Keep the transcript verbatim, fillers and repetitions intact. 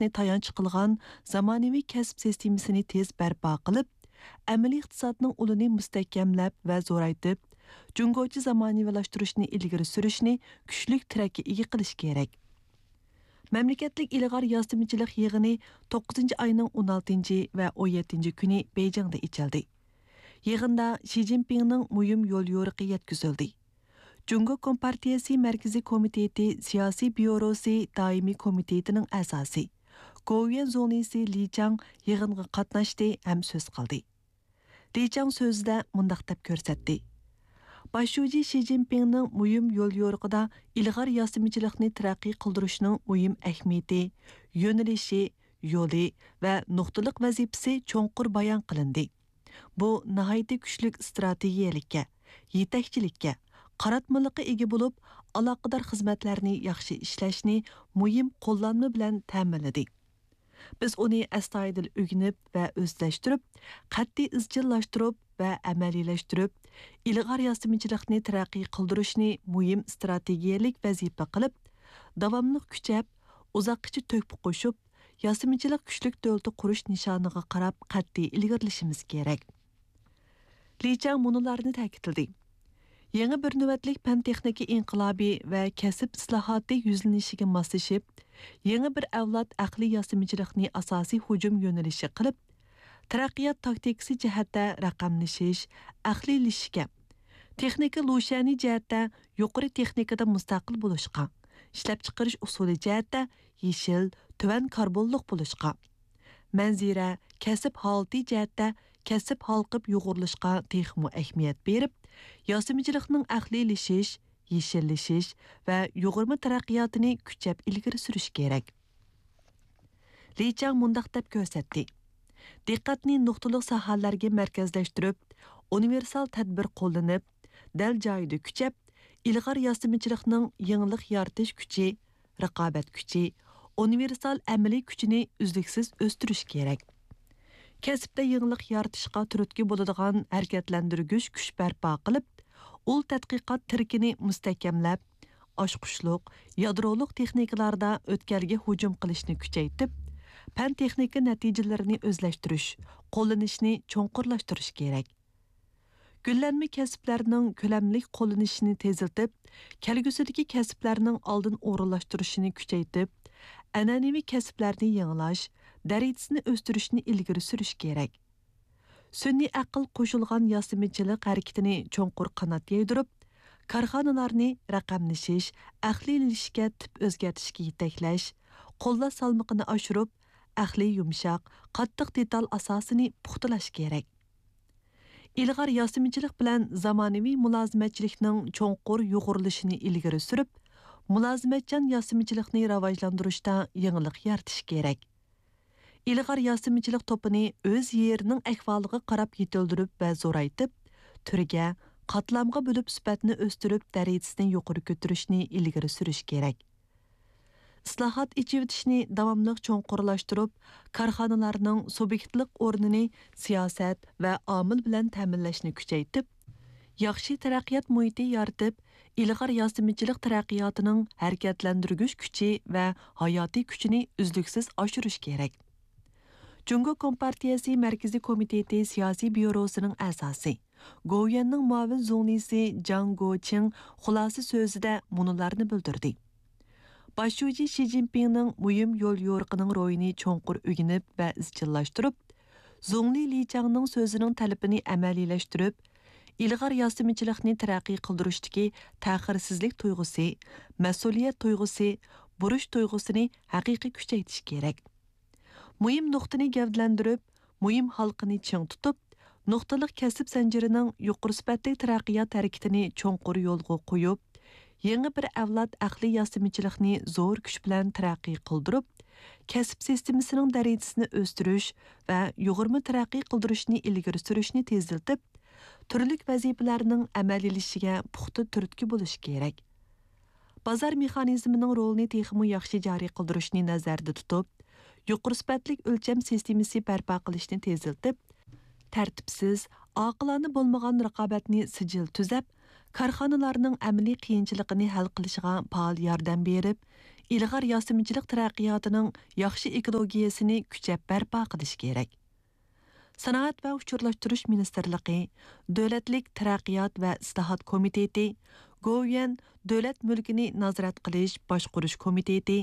ئىقتىسادنى تايانچ قىلغان زامانىۋى كەسىپ سىستېمىسىنى تېز بەرپا قىلىپ، ئەمەلىي ئىقتىسادنىڭ ئۇلىنى مۇستەھكەملەپ ۋە زورايتىپ، جۇڭگوچە زامانىۋىلاشتۇرۇشنى ئىلگىرى سۈرۈشنى كۈچلۈك تىرەككە ئىگە قىلىش كېرەك. مەملىكەتلىك ئىلغار ياسىمىچىلىق يىغىنى توققۇزىنچى ئاينىڭ ئون ئالتىنچى ۋە ئون يەتتىنچى كۈنى بېيجىڭدا ئېچىلدى. يىغىندا شى جىنپىڭنىڭ مۇھىم يوليورۇقى يەتكۈزۈلدى. جۇڭگو كومپارتىيەسى مەركىزىي كومىتېتى سىياسىي بيۇروسى دائىمىي كومىتېتىنىڭ ئەزاسى، گوۋۇيۈەن زۇڭلىسى لى چاڭ يىغىنغا قاتناشتى ھەم سۆز قىلدى. لى چاڭ سۆزىدە مۇنداق دەپ كۆرسەتتى: باش شۇجى شى جىنپىڭنىڭ مۇھىم يوليورۇقىدا ئىلغار ياسىمىچىلىقنى تەرەققىي قىلدۇرۇشنىڭ مۇھىم ئەھمىيىتى، يۆنىلىشى، يولى ۋە نۇقتىلىق ۋەزىپىسى چوڭقۇر بايان قىلىندى. بۇ ناھايىتى كۈچلۈك ئىستراتېگىيەلىككە، يېتەكچىلىككە، قاراتمىلىققا ئىگە بولۇپ، ئالاقىدار خىزمەتلەرنى ياخشى ئىشلەشنى مۇھىم قوللانما بىلەن تەمىنلىدى. بىز ئۇنى ئەستايىدىل ئۆگىنىپ ۋە ئۆزلەشتۈرۈپ، قەتئىي ئىزچىللاشتۇرۇپ ۋە ئەمەلىيلەشتۈرۈپ، ئىلغار ياسىمىچىلىقنى تەرەققىي قىلدۇرۇشنى مۇھىم ئىستراتېگىيەلىك ۋەزىپە قىلىپ، داۋاملىق كۈچەپ، ئۇزاققىچە تۆھپە قوشۇپ، ياسىمىچىلىق كۈچلۈك دۆلىتى قۇرۇش نىشانىغا قاراپ قەتئىي ئىلگىرىلىشىمىز كېرەك. لى چاڭ مۇنۇلارنى تەكىتلىدى: يېڭى بىر نۆۋەتلىك پەن-تېخنىكا ئىنقىلابى ۋە كەسىپ ئىسلاھاتى يۈزلىنىشىگە ماسلىشىپ، يېڭى بىر ئەۋلاد ئەقلىي ياسىمىچىلىقنى ئاساسىي ھۇجۇم يۆنىلىشى قىلىپ، تەرەققىيات تاكتىكىسى جەھەتتە رەقەملىشىش، ئەقلىيلىشىشكە، تېخنىكا لۇشيەنى جەھەتتە يۇقىرى تېخنىكىدا مۇستەقىل بولۇشقا، ئىشلەپچىقىرىش ئۇسۇلى جەھەتتە يېشىل، تۆۋەن كاربونلۇق بولۇشقا، مەنزىرە، كەسىپ ھالىتى جەھەتتە كەسىپ ھالقىپ يۇغۇرۇلۇشقا تېخىمۇ ئەھمىيەت بېرىپ، ياسىمىچىلىقنىڭ ئەقلىيلىشىش، يېشىللىشىش ۋە يۇغۇرما تەرەققىياتىنى كۈچەپ ئىلگىرى سۈرۈش كېرەك. لى چاڭ مۇنداق دەپ كۆرسەتتى: دىققەتنى نۇقتىلىق ساھەلەرگە مەركەزلەشتۈرۈپ، ئۇنىۋېرسال تەدبىر قوللىنىپ، دەل جايىدا كۈچەپ، ئىلغار ياسىمىچىلىقنىڭ يېڭىلىق يارىتىش كۈچى، رىقابەت كۈچى، ئۇنىۋېرسال ئەمەلىي كۈچىنى ئۈزلۈكسىز ئۆستۈرۈش كېرەك. كەسىپتە يېڭىلىق يارىتىشقا تۈرتكە بولىدىغان ھەرىكەتلەندۈرگۈچ كۈچ بەرپا قىلىپ، ئۇل تەتقىقات تىرىكىنى مۇستەھكەملەپ، ئاچقۇچلۇق، يادرولۇق تېخنىكىلاردا ئۆتكەلگە ھۇجۇم قىلىشنى كۈچەيتىپ، پەن-تېخنىكا نەتىجىلىرىنى ئۆزلەشتۈرۈش، قوللىنىشنى چوڭقۇرلاشتۇرۇش كېرەك. گۈللەنمە كەسىپلەرنىڭ كۆلەملىك قوللىنىشىنى تېزلىتىپ، كەلگۈسىدىكى كەسىپلەرنىڭ ئالدىن ئورۇنلاشتۇرۇشىنى كۈچەيتىپ، ئەنئەنىۋى كەسىپلەرنى يېڭىلاش دەرىجىسىنى ئۆستۈرۈشنى ئىلگىرى سۈرۈش كېرەك. سۈنئىي ئەقىل قوشۇلغان ياسىمىچىلىق ھەرىكىتىنى چوڭقۇر قانات يايدۇرۇپ، كارخانىلارنى رەقەملىشىش، ئەقلىيلىشىشكە تىپ ئۆزگەرتىشكە يېتەكلەش، قوللاش سالمىقىنى ئاشۇرۇپ، ئەقلىي يۇمشاق، قاتتىق دېتال ئاساسىنى پۇختىلاش كېرەك. ئىلغار ياسىمىچىلىق بىلەن زامانىۋى مۇلازىمەتچىلىكنىڭ چوڭقۇر يۇغۇرۇلۇشىنى ئىلگىرى سۈرۈپ، مۇلازىمەتچان ياسىمىچىلىقنى راۋاجلاندۇرۇشتا يېڭىلىق يارىتىش كېرەك. ئىلغار ياسىمىچىلىق توپىنى ئۆز يېرىنىڭ ئەھۋالىغا قاراپ يېتىلدۈرۈپ ۋە زورايتىپ، تۈرگە، قاتلامغا بۆلۈپ سۈپەتنى ئۆستۈرۈپ، دەرىجىسىنى يۇقىرى كۆتۈرۈشنى ئىلگىرى سۈرۈش كېرەك. ئىسلاھات، ئېچىۋېتىشنى داۋاملىق چوڭقۇرلاشتۇرۇپ، كارخانىلارنىڭ سۇبيېكتلىق ئورنىنى سىياسەت ۋە ئامىل بىلەن تەمىنلەشنى كۈچەيتىپ، ياخشى تەرەققىيات مۇھىتى يارىتىپ، ئىلغار ياسىمىچىلىق تەرەققىياتىنىڭ ھەرىكەتلەندۈرگۈچ كۈچى ۋە ھاياتىي كۈچىنى ئۈزلۈكسىز ئاشۇرۇش كېرەك. جۇڭگو كومپارتىيەسى مەركىزىي كومىتېتى سىياسىي بيۇروسىنىڭ ئەزاسى، گوۋۇيۈەننىڭ مۇئاۋىن زۇڭلىسى جاڭ گوچىڭ خۇلاسە سۆزىدە مۇنۇلارنى بىلدۈردى: باش شۇجى شى جىنپىڭنىڭ مۇھىم يوليورۇقىنىڭ روھىنى چوڭقۇر ئۆگىنىپ ۋە ئىزچىللاشتۇرۇپ، زۇڭلى لى چاڭنىڭ سۆزىنىڭ تەلىپىنى ئەمەلىيلەشتۈرۈپ، ئىلغار ياسىمىچىلىقنى تەرەققىي قىلدۇرۇشتىكى تەخىرسىزلىك تۇيغۇسى، مەسئۇلىيەت تۇيغۇسى، بۇرچ تۇيغۇسىنى ھەقىقىي كۈچەيتىش كېرەك. مۇھىم نۇقتىنى گەۋدىلەندۈرۈپ، مۇھىم ھالقىنى چىڭ تۇتۇپ، نۇقتىلىق كەسىپ زەنجىرىنىڭ يۇقىرى سۈپەتلىك تەرەققىيات ھەرىكىتىنى چوڭقۇر يولغا قويۇپ، يېڭى بىر ئەۋلاد ئەقلىي ياسىمىچىلىقنى زور كۈچ بىلەن تەرەققىي قىلدۇرۇپ، كەسىپ سىستېمىسىنىڭ دەرىجىسىنى ئۆستۈرۈش ۋە يۇغۇرما تەرەققىي قىلدۇرۇشنى ئىلگىرى سۈرۈشنى تېزلىتىپ، تۈرلۈك ۋەزىپىلەرنىڭ ئەمەلىيلىشىشىگە پۇختا تۈرتكە بولۇش كېرەك. بازار مېخانىزمىنىڭ رولىنى تېخىمۇ ياخشى جارى قىلدۇرۇشنى نەزەردە تۇتۇپ، يۇقىرى سۈپەتلىك ئۆلچەم سىستېمىسى بەرپا قىلىشنى تېزلىتىپ، تەرتىپسىز، ئاقىلانە بولمىغان رىقابەتنى سىجىل تۈزەپ، كارخانىلارنىڭ ئەمەلىي قىيىنچىلىقىنى ھەل قىلىشىغا پائال ياردەم بېرىپ، ئىلغار ياسىمىچىلىق تەرەققىياتىنىڭ ياخشى ئېكولوگىيەسىنى كۈچەپ بەرپا قىلىش كېرەك. سانائەت ۋە ئۇچۇرلاشتۇرۇش مىنىستىرلىقى، دۆلەتلىك تەرەققىيات ۋە ئىسلاھات كومىتېتى، گوۋۇيۈەن دۆلەت مۈلكىنى نازارەت قىلىش باشقۇرۇش كومىتېتى،